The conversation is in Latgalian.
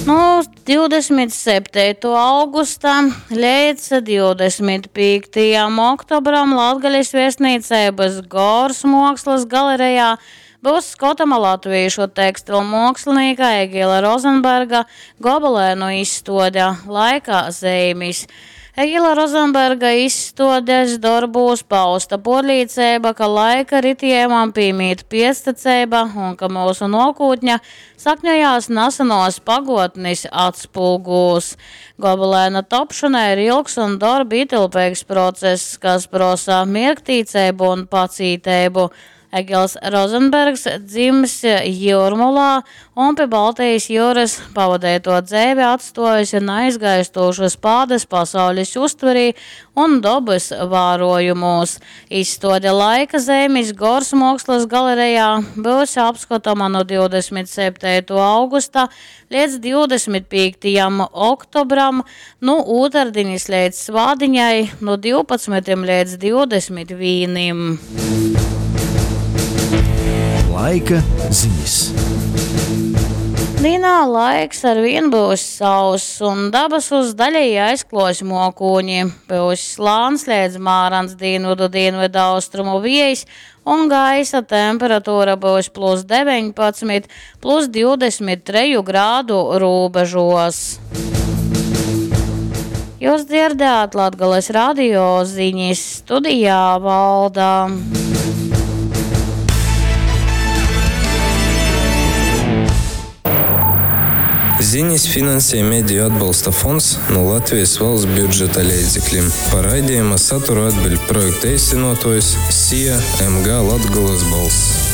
Nu 27. augusta leidz 25. oktobram Latgales viestnīceibys Gors muokslys galerejā byus skotama latvīšu tekstilmuokslinīka Egila Rozenberga gobelenu izstuode Laika zeimis. Egila Rozenberga izstuodes dorbūs pausta puorlīceiba, ka laika ritiejumam pīmīt piecteceiba un ka myusu nuokūtne sakņojās nasenuos paguotnis atspulgūs. Gobelena topšona ir ilgs un dorba ietilpīgs process, kas prosa mierktīceibu un pacīteibu. Egils Rozenbergs dzimis Jūrmolā un pi Baltijas jūras pavadeito dzeivi atstuojusi neaizgaistošas pādas pasaules uztverī un dobys vārojumos. Izstuode Laika zeimis Gors muokslys galerejā byus apskotama nu 27. augusta līdz 25. oktobram, nu ūtardiņas līdz svādiņai, nu 12. līdz 21. Laika ziņas. Dīnā laiks ar vien būs sauss un dabasus daļēji aizklos mokūņi. Būs slāns līdz mārans dienvidu dienvidu austrumu viejs un gaisa temperatūra būs plus 19, plus 23 grādu robežos. Jūs dzirdējāt Latgales radio ziņas studijā Valda. Ziņas finansē Mediju atbalsta fonds no Latvijas valsts budžeta līdzekļiem. Par raidījuma saturu atbild projekta īstenotājs SIA MG Latgolas balss.